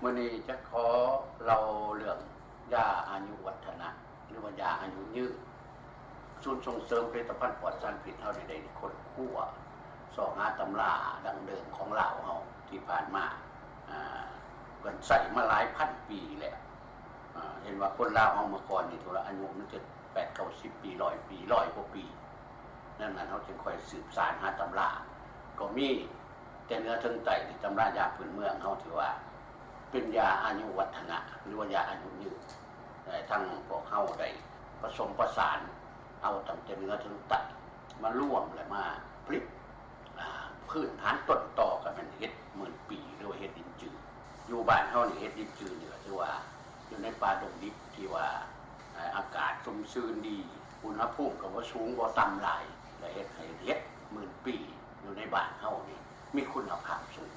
ມື້ນີ້ຈະຂໍເລົ່າເລື່ອງຢາອາຍຸວັດທະນະ ຫຼືວ່າຢາອາຍຸຍືນ. ສູນສົ່ງເສີມຜະລິດຕະພັນປອດສານພິດເຮົານີ້ໄດ້ຄົ້ນຄວ້າຊອກຫາຕຳລາດັ້ງເດີມຂອງລາວເຮົາທີ່ຜ່ານມາ ອາ ເພິ່ນໃຊ້ມາຫຼາຍພັນປີແລ້ວ. ອາ ເຫັນວ່າຄົນລາວເຮົາເມື່ອກ່ອນນີ້ ຖືວ່າອາຍຸມັນຈະແປດເກົ້າສິບປີ ຮ້ອຍປີ ຮ້ອຍກວ່າປີ. ດັ່ງນັ້ນເຮົາຈຶ່ງຄ່ອຍສືບສານຫາຕຳລາ ກໍມີແຕ່ເໜືອເຖິງໃຕ້ ທີ່ຕຳລາຢາພື້ນເມືອງເຮົາ ທີ່ວ່າເປັນຢາອາຍຸວັດທະນະ ຫຼືວ່າຢາອາຍຸຍືນ. ແຕ່ທັງພວກເຮົາໄດ້ປະສົມປະສານເອົາຕັ້ງແຕ່ເໜືອເຖິງໃຕ້ມາລວມ ແລະ ມາຜະລິດ ອາ ພື້ນຖານຕົ້ນຕໍກໍແມ່ນເຫັດໝື່ນປີ ຫຼືວ່າເຫັດລິນຈື. ຢູ່ບ້ານເຮົານີ້ ເຫັດລິນຈືນີ້ກໍຖືວ່າຢູ່ໃນປ່າດົງດິບທີ່ວ່າ ອາ ອາກາດຊຸ່ມຊື່ນດີ ອຸນຫະພູມກໍບໍ່ສູງບໍ່ຕ່ຳຫຼາຍ ແລະ ເຮັດໃຫ້ເຫັດໝື່ນປີຢູ່ໃນບ້ານເຮົານີ້ມີຄຸນນະພາບສູງ.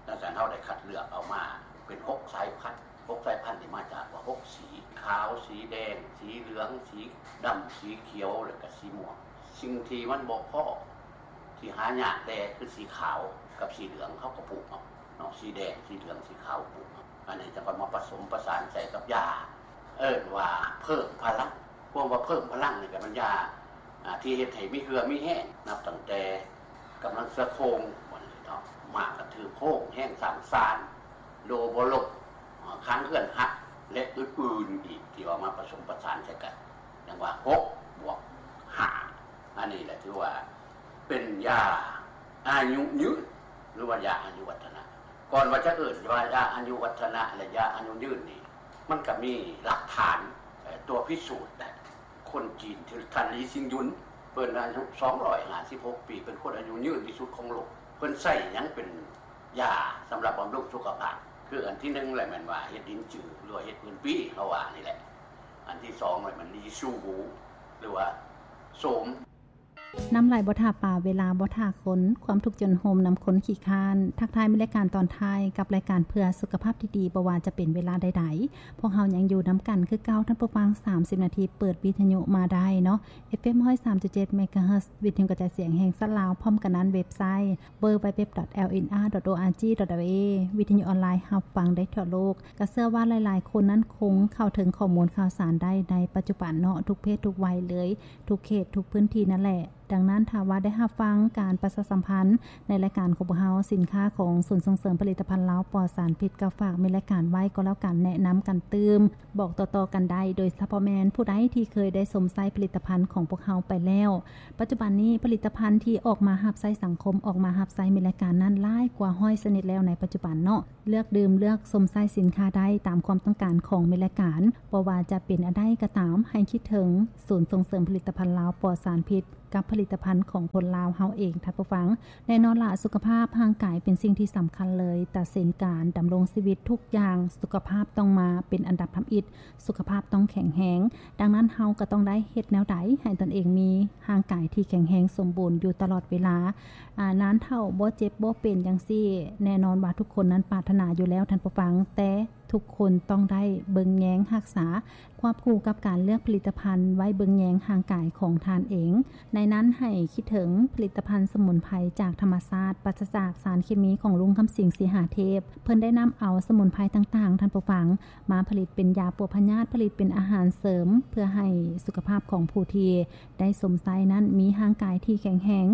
ດັ່ງນັ້ນເຮົາໄດ້ຄັດເລືອກເອົາມາເປັນຫົກສາຍພັນ ຫົກສາຍພັນນີ້ມາຈາກວ່າຫົກສີ ຂາວ ສີແດງ ສີເຫຼືອງ ສີດຳ ສີຂຽວ ແລະກະສີມ່ວງ. ສິ່ງທີ່ມັນບໍ່ພໍ ທີ່ຫາຍາກແດ່ຄືສີຂາວກັບສີເຫຼືອງ ເຮົາກໍປູກເອົາເນາະ ສີແດງ ສີເຫຼືອງ ສີຂາວ ປູກເອົາ. ອັນນີ້ຈະເອົາມາປະສົມປະສານໃສ່ກັບຢາ ເອີ້ນວ່າເພີ່ມພະລັງ. ຄວາມວ່າເພີ່ມພະລັງນີ້ກໍແມ່ນຢາ ອາ ທີ່ເຮັດໃຫ້ມີເຫື່ອມີແຮງ ນັບຕັ້ງແຕ່ກຳລັງເສືອໂຄ່ງ ວ່າຊັ້ນເນາະ ມ້າກະຖືໂຄ້ງ ແຮງສ້າງຊານ ໂດບໍ່ລົ້ມ ອາ ຂັງເຮືອນຮັກ ແລະ ອື່ນໆອີກ ທີ່ເອົາມາປະສົມປະສານໃສ່ກັນ ຈັ່ງວ່າຫົກບວກຫ້າ. ອັນນີ້ແຫຼະຖືວ່າເປັນຢາອາຍຸຍືນ ຫຼືວ່າຢາອາຍຸວັດທະນະ. ກ່ອນວ່າຈະເອີ້ນວ່າຢາອາຍຸວັດທະນະ ແລະ ຢາອາຍຸຍືນນີ້ ມັນກໍມີຫຼັກຖານ ເອີ ຕົວພິສູດໄດ້. ຄົນຈີນທີ່ທ່ານ ລີຊິງຍຸນ ເພິ່ນອາຍຸສອງຮ້ອຍຫ້າສິບຫົກປີ ເປັນຄົນອາຍຸຍືນທີ່ສຸດຂອງໂລກ. ເພິ່ນໃຊ້ຫຍັງເປັນຢາສຳລັບບຳລຸງສຸຂະພາບ? ຄືອັນທີໜຶ່ງແຫຼະ ແມ່ນວ່າເຫັດລິນຈື ຫຼືວ່າເຫັດໝື່ນປີ ເຮົາວ່ານີ້ແຫຼະ. ອັນທີສອງແຫຼະ ແມ່ນລີຊູຫູ ຫຼືວ່າໂສມ. ນ້ຳໄຫຼບໍ່ຖ້າປາ ເວລາບໍ່ຖ້າຄົນ ຄວາມທຸກຈົນໂຮມນຳຄົນຂີ້ຄ້ານ. ທັກທາຍ ມີລາຍການຕອນທ້າຍກັບລາຍການເພື່ອສຸຂະພາບທີ່ດີ ບໍ່ວ່າຈະເປັນເວລາໃດໆ ພວກເຮົາຍັງຢູ່ນຳກັນຄືເກົ່າ ທ່ານຜູ້ຟັງ. ສາມສິບນາທີ ເປີດວິທະຍຸມາໄດ້ເນາະ ເອັຟເອັມ ຮ້ອຍສາມຈຸດເຈັດ ເມກາເຮີດ ວິທະຍຸກະຈາຍສຽງແຫ່ງຊາດລາວ. ພ້ອມກັນນັ້ນ ເວັບໄຊ ເວີເອສ ເອັຟເອັມ ດອດ ແອລເອັນອາ ດອດ ໂອອາຈີ ດອດ ແອລເອ ວິທະຍຸອອນລາຍຮັບຟັງໄດ້ທົ່ວໂລກ. ກໍເຊື່ອວ່າຫຼາຍໆຄົນນັ້ນຄົງເຂົ້າເຖິງຂໍ້ມູນຂ່າວສານໄດ້ໃນປັດຈຸບັນເນາະ ທຸກເພດທຸກໄວເລີຍ ທຸກເຂດທຸກພື້ນທີ່ນັ້ນແຫຼະ. ດັ່ງນັ້ນ ຖ້າວ່າໄດ້ຮັບຟັງການປະຊາສຳພັນໃນລາຍການຂອງພວກເຮົາ, ສິນຄ້າຂອງສູນສົ່ງເສີມຜະລິດຕະພັນລາວປອດສານພິດ ກໍຝາກແມ່ນລາຍການໄວ້ກໍແລ້ວກັນ, ແນະນຳກັນຕື່ມ, ບອກຕໍ່ໆກັນໄດ້, ໂດຍສະເພາະແມ່ນຜູ້ໃດທີ່ເຄີຍໄດ້ຊົມໃຊ້ຜະລິດຕະພັນຂອງພວກເຮົາໄປແລ້ວ. ປັດຈຸບັນນີ້ ຜະລິດຕະພັນທີ່ອອກມາຮັບໃຊ້ສັງຄົມ, ອອກມາຮັບໃຊ້ແມ່ນລາຍການນັ້ນຫຼາຍກວ່າຮ້ອຍຊະນິດແລ້ວໃນປັດຈຸບັນເນາະ. ເລືອກດື່ມ, ເລືອກຊົມໃຊ້ສິນຄ້າໄດ້ຕາມຄວາມຕ້ອງການຂອງແມ່ນລາຍການ. ບໍ່ວ່າຈະເປັນອັນໃດກໍຕາມ, ໃຫ້ຄິດເຖິງສູນສົ່ງເສີມຜະລິດຕະພັນລາວປອດສານພິດ ກັບຜະລິດຕະພັນຂອງຄົນລາວເຮົາເອງ, ທ່ານຜູ້ຟັງ. ແນ່ນອນລະ, ສຸຂະພາບຮ່າງກາຍເປັນສິ່ງທີ່ສຳຄັນເລີຍ, ຕາເສັນການດຳລົງຊີວິດທຸກຢ່າງ, ສຸຂະພາບຕ້ອງມາເປັນອັນດັບທຳອິດ, ສຸຂະພາບຕ້ອງແຂງແຮງ. ດັ່ງນັ້ນ, ເຮົາກໍຕ້ອງໄດ້ເຮັດແນວໃດໃຫ້ຕົນເອງມີຮ່າງກາຍທີ່ແຂງແຮງສົມບູນຢູ່ຕະຫຼອດເວລາ, ອາ, ນານເຖົ້າ, ບໍ່ເຈັບ, ບໍ່ເປັນຈັ່ງຊີ້. ແນ່ນອນວ່າທຸກຄົນນັ້ນປາດຖະໜາຢູ່ແລ້ວ, ທ່ານຜູ້ຟັງ, ແຕ່ ທຸກຄົນຕ້ອງໄດ້ເບິ່ງແຍງຮັກສາ ຄວບຄູ່ກັບການເລືອກຜະລິດຕະພັນໄວ້ເບິ່ງແຍງຮ່າງກາຍຂອງທ່ານເອງ. ໃນນັ້ນໃຫ້ຄິດເຖິງຜະລິດຕະພັນສະໝຸນໄພຈາກທຳມະຊາດ, ປາສະຈາກສານເຄມີ ຂອງລຸງຄຳສິງ ສີຫາເທບ. ເພິ່ນໄດ້ນຳເອົາສະໝຸນໄພຕ່າງໆ, ທ່ານຜູ້ຟັງ, ມາຜະລິດເປັນຢາປົວພະຍາດ, ຜະລິດເປັນອາຫານເສີມ ເພື່ອໃຫ້ສຸຂະພາບຂອງຜູ້ທີ່ໄດ້ຊົມໃຊ້ນັ້ນມີຮ່າງກາຍທີ່ແຂງແຮງ.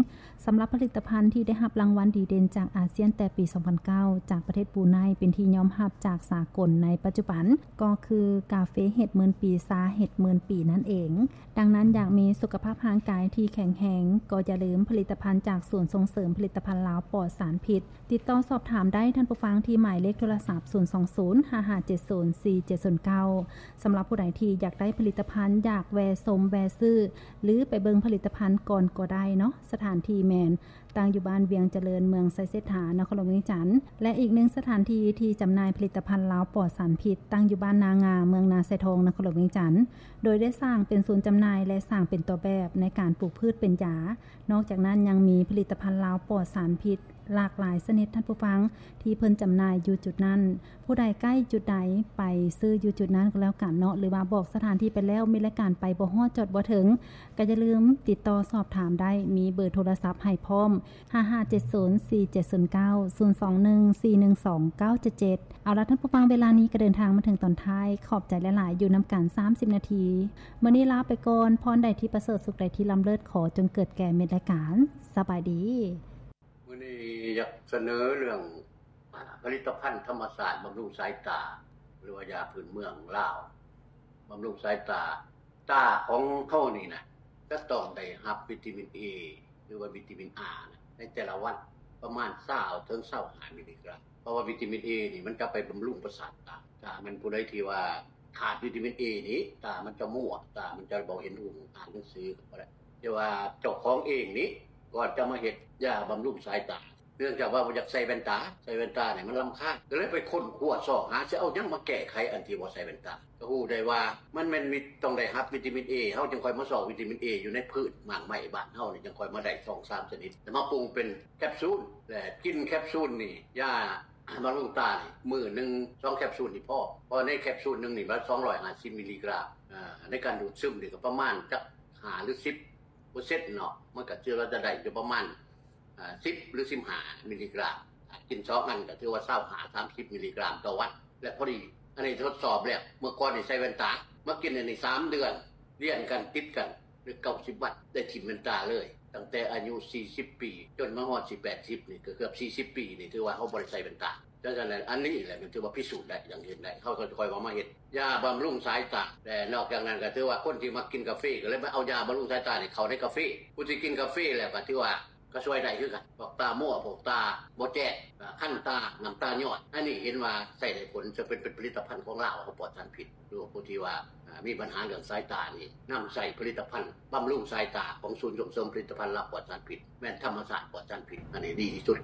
ສຳລັບຜະລິດຕະພັນທີ່ໄດ້ຮັບລາງວັນດີເດັ່ນຈາກອາຊຽນແຕ່ປີສອງພັນເກົ້າ ຈາກປະເທດບຣູໄນ ເປັນທີ່ຍອມຮັບຈາກສາກົນໃນປັດຈຸບັນ ກໍຄືກາເຟເຫັດໝື່ນປີ, ຊາເຫັດໝື່ນປີນັ້ນເອງ. ດັ່ງນັ້ນ, ຢາກມີສຸຂະພາບຮ່າງກາຍທີ່ແຂງແຮງ, ກໍຢ່າລືມຜະລິດຕະພັນຈາກສູນສົ່ງເສີມຜະລິດຕະພັນລາວປອດສານພິດ. ຕິດຕໍ່ສອບຖາມໄດ້, ທ່ານຜູ້ຟັງ, ທີ່ໝາຍເລກໂທລະສັບ ສູນສອງສູນ ຫ້າຫ້າເຈັດສູນ ສີ່ເຈັດສູນເກົ້າ. ສຳລັບຜູ້ໃດທີ່ຢາກໄດ້ຜະລິດຕະພັນ, ຢາກແວ່ຊົມ, ແວ່ຊື້ ຫຼື ໄປເບິ່ງຜະລິດຕະພັນກ່ອນກໍໄດ້ເນາະ. ສະຖານທີ່ແມ່ນ ຕັ້ງຢູ່ບ້ານວຽງຈະເລີນ, ເມືອງໄຊເສດຖາ, ນະຄອນຫຼວງວຽງຈັນ ແລະ ອີກໜຶ່ງສະຖານທີ່ທີ່ຈຳໜ່າຍຜະລິດຕະພັນລາວປອດສານພິດ ຕັ້ງຢູ່ບ້ານນາງາ, ເມືອງນາຊາຍທອງ, ນະຄອນຫຼວງວຽງຈັນ ໂດຍໄດ້ສ້າງເປັນສູນຈຳໜ່າຍ ແລະ ສ້າງເປັນຕົວແບບໃນການປູກພືດເປັນຢາ. ນອກຈາກນັ້ນຍັງມີຜະລິດຕະພັນລາວປອດສານພິດ ຫຼາກຫຼາຍຊະນິດ ທ່ານຜູ້ຟັງ ທີ່ເພິ່ນຈຳໜ່າຍຢູ່ຈຸດນັ້ນ. ຜູ້ໃດໃກ້ຈຸດໃດ ໄປຊື້ຢູ່ຈຸດນັ້ນກໍແລ້ວກັນເນາະ ຫຼືວ່າບອກສະຖານທີ່ໄປແລ້ວ ມີລາຍການໄປບໍ່ຮອດ ຈອດບໍ່ເຖິງ ກໍຢ່າລືມຕິດຕໍ່ສອບຖາມໄດ້ ມີເບີໂທລະສັບໃຫ້ພ້ອມ ຫ້າຫ້າເຈັດສູນ ສີ່ເຈັດສູນເກົ້າ ສູນສອງໜຶ່ງ ສີ່ໜຶ່ງສອງ ເກົ້າເຈັດເຈັດ. ເອົາລະ ທ່ານຜູ້ຟັງ ເວລານີ້ກໍເດີນທາງມາເຖິງຕອນທ້າຍ ຂອບໃຈຫຼາຍໆ ຢູ່ນຳກັນສາມສິບນາທີ. ມື້ນີ້ລາໄປກ່ອນ ພອນໃດທີ່ປະເສີດ ສຸກໃດທີ່ລ້ຳເລີດ ຂໍຈົ່ງເກີດແກ່ມິດລາຍການ. ສະບາຍດີ. ມື້ນີ້ຢາກສະເໜີເລື່ອງ ອາ ຜະລິດຕະພັນທຳມະຊາດບຳລຸງສາຍຕາ ຫຼືວ່າຢາພື້ນເມືອງລາວ ບຳລຸງສາຍຕາ. ຕາຂອງເຮົານີ້ນະ ຈະຕ້ອງໄດ້ຮັບວິຕາມິນ A ຫຼືວ່າວິຕາມິນ A ໃນແຕ່ລະວັນ ປະມານຊາວເຖິງຊາວຫ້າມິລລີກຣາມ ເພາະວ່າວິຕາມິນ A ນີ້ມັນຈະໄປບຳລຸງປະສາດຕາ. ຖ້າແມ່ນຜູ້ໃດທີ່ວ່າຂາດວິຕາມິນ A ນີ້ ຕາມັນຈະມົວ ຕາມັນຈະບໍ່ເຫັນຮຸ່ງ ອ່ານໜັງສືກໍບໍ່ໄດ້. ແຕ່ວ່າເຈົ້າຂອງເອງນີ້ ກ່ອນຈະມາເຮັດຢາບຳລຸງສາຍຕາ ເນື່ອງຈາກວ່າບໍ່ຢາກໃສ່ແວ່ນຕາ ໃສ່ແວ່ນຕານີ້ມັນລຳຄານ ກໍເລີຍໄປຄົ້ນຄວ້າຊອກຫາ ຊິເອົາຫຍັງມາແກ້ໄຂອັນທີ່ບໍ່ໃສ່ແວ່ນຕາ. ກໍຮູ້ໄດ້ວ່າມັນແມ່ນມີ ຕ້ອງໄດ້ຮັບວິຕາມິນ A ເຮົາຈຶ່ງຄ່ອຍມາຊອກວິຕາມິນ A ຢູ່ໃນພືດໝາກໄມ້ບ້ານເຮົານີ້ ຈຶ່ງຄ່ອຍມາໄດ້ສອງສາມຊະນິດ ແລ້ວມາປຸງເປັນແຄບຊູນ ແລະ ກິນແຄບຊູນນີ້ ຢາບຳລຸງຕານີ້ ມື້ໜຶ່ງສອງແຄບຊູນນີ້ພໍ ເພາະໃນແຄບຊູນໜຶ່ງນີ້ມັນສອງຮ້ອຍຫ້າສິບມິລລີກຣາມ ໃນການດູດຊຶມນີ້ກໍປະມານຈັກຫ້າຫຼືສິບເປີເຊັນເນາະ ມັນກໍຖືວ່າຈະໄດ້ຢູ່ປະມານ ອາ ສິບຫຼືສິບຫ້າມິລລີກຣາມ ກິນສອງອັນກໍຖືວ່າຊາວຫ້າສາມສິບມິລລີກຣາມຕໍ່ວັນ ແລະ ພໍດີ. ອັນນີ້ທົດສອບແລ້ວ ເມື່ອກ່ອນນີ້ໃສ່ແວ່ນຕາ ມາກິນອັນນີ້ສາມເດືອນລຽນກັນຕິດກັນ ເປັນເກົ້າສິບວັນ ໄດ້ຖິ້ມແວ່ນຕາເລີຍ ຕັ້ງແຕ່ອາຍຸສີ່ສິບປີ ຈົນມາຮອດຊິແປດສິບນີ້ ກໍເກືອບສີ່ສິບປີນີ້ ຖືວ່າເຮົາບໍ່ໄດ້ໃສ່ແວ່ນຕາ. ສະນັ້ນ ອັນນີ້ແຫຼະມັນຖືວ່າພິສູດໄດ້ ຢ່າງເຫັນໄດ້ ເຮົາກໍຄ່ອຍເອົາມາເຮັດຢາບຳລຸງສາຍຕາ. ແລະ ນອກຈາກນັ້ນກໍຖືວ່າຄົນທີ່ມັກກິນກາເຟ ກໍເລີຍມາເອົາຢາບຳລຸງສາຍຕານີ້ເຂົ້າໃນກາເຟ ຜູ້ທີ່ກິນກາເຟແລ້ວກໍຖືວ່າ ກໍຊ່ວຍໄດ້ຄືກັນ ພວກຕາມົວ ພວກຕາບໍ່ແຈ້ງ ຄັນຕາ ນ້ຳຕາຍ້ອຍ ອັນນີ້ເຫັນວ່າໃຊ້ໄດ້ຜົນ ເຊິ່ງເປັນ ເປັນຜະລິດຕະພັນຂອງລາວ ເຮົາປອດສານພິດ. ຫຼືວ່າຜູ້ທີ່ວ່າ ອາ ມີບັນຫາເລື່ອງສາຍຕານີ້ ນຳໃຊ້ຜະລິດຕະພັນບຳລຸງສາຍຕາຂອງສູນສົ່ງເສີມຜະລິດຕະພັນລາວປອດສານພິດ ແມ່ນທຳມະຊາດປອດສານພິດ ອັນນີ້ດີທີ່ສຸດ.